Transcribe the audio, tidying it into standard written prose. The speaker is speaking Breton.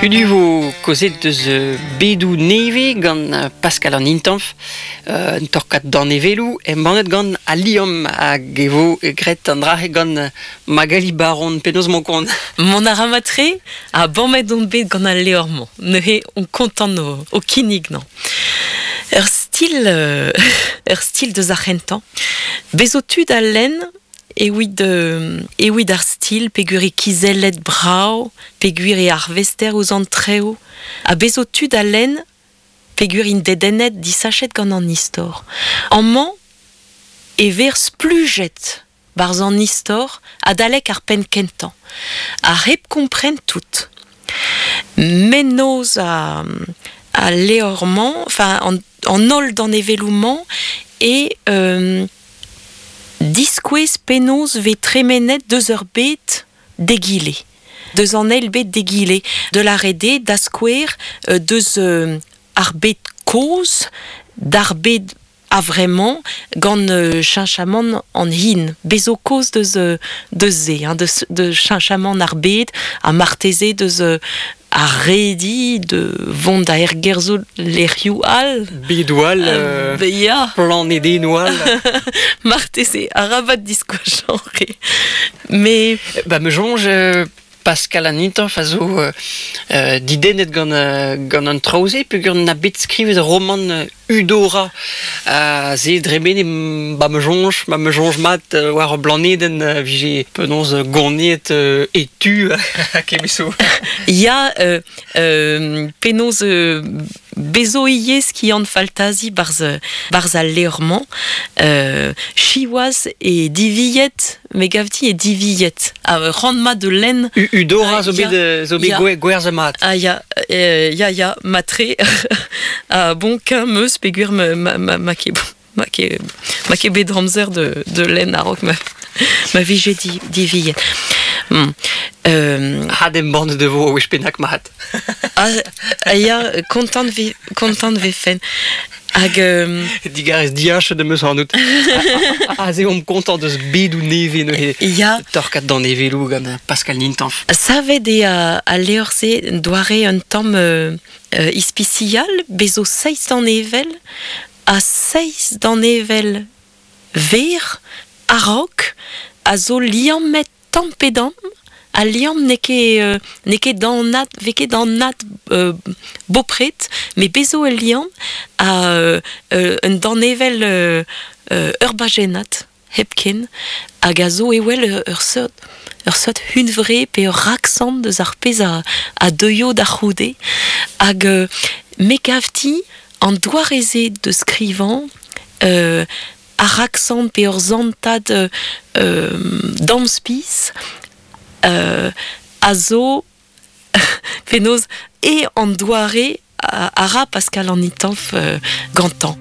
Hudu vo kozet deus bedoù nevez gant Pascal an Intanf, un torkad danevelloù embannet gant Al Liamm hag e vo graet an dra-se gant Magali Baron. Penaos 'mañ kont? Mont a ra mat-tre ha bammet on bet gant al levr-mañ. Neuze on kontant o kinnig 'nañ. Ur stil, ur stil deus ar c'hentañ. Bez zo tu da lenn Ewid ewid ar stil peogwir eo kizellet brav, peogwir eo arvester ouzh an traoù, ha bez zo tu da lenn peogwir int dedennet disachet gant an istor. Amañ e vez splujet 'barzh an istor adalek ar penn kentañ, ha hep kompren tout. Mennozh al levr-mañ, enfin an holl danevelloù-mañ eo Diskouez penaos 'vez tremenet deus ur bed d'egile, deus an eil bed d'egile, de la red da skouer deus ar bed kozh d'ar bed a-vremañ gant cheñchamant an hin. Bez zo kaoz deus deus se, hein, deus deus cheñchamant ar bed ha marteze deus Ar redi de vont da ergerzhout lec'hioù all. Bedoù all, ya. Planedennoù all. Marteze, arabat diskoachañ re. Mais... Ba me soñj Pascal an Intanf a zo didennet gant, gant an traoù-se peogwir na bet skrivet romant Udora se dremene ba ma soñj, ma ma soñj mat war ur blanedenn vije penaos goniet e tu kemeso. Ya, penaos bezo ivez skiant faltazi barzh barzh al levr-mañ. Siwazh e divilhet, me gav din e divilhet. Ha c'hoant mat da lenn. Udora zo bet zo bet gwerzhet mat. Ah ya, ya ya, matre. Ah bon, qu'un meus peogwir ma ma ma ma ket ma ket ma ket bet amzer de de lenn a-raok ma ma vije di divilhet. Had embannet e vo wech bennak mat. Ah ya, kontant vi kontant vefen. Hag Digarez diachet am eus ac'hanout. Aze omp kontant eus bedoù nevez neuze. Ya. Torkad danevelloù gant Pascal Nintanf. Savet eo al levr-se doare un tamm ispisial, bez zo seizh danevell ha seizh danevell ver a-raok a zo liammet tamm pe damm. Al liamm n'eo ket n'eo ket anat 'vez ket anat bopred, met bez zo ul liamm ha un danevell ur bajennad hepken hag a zo evel ur seurt ur seurt hunvre pe ur raksant eus ar pezh a deuio da c'houde. Hag me 'gav din an doare-se da skrivañ ar raksant pe ur santad damspis a zo penaos eo an doare a ra Pascal an Itanf gantañ.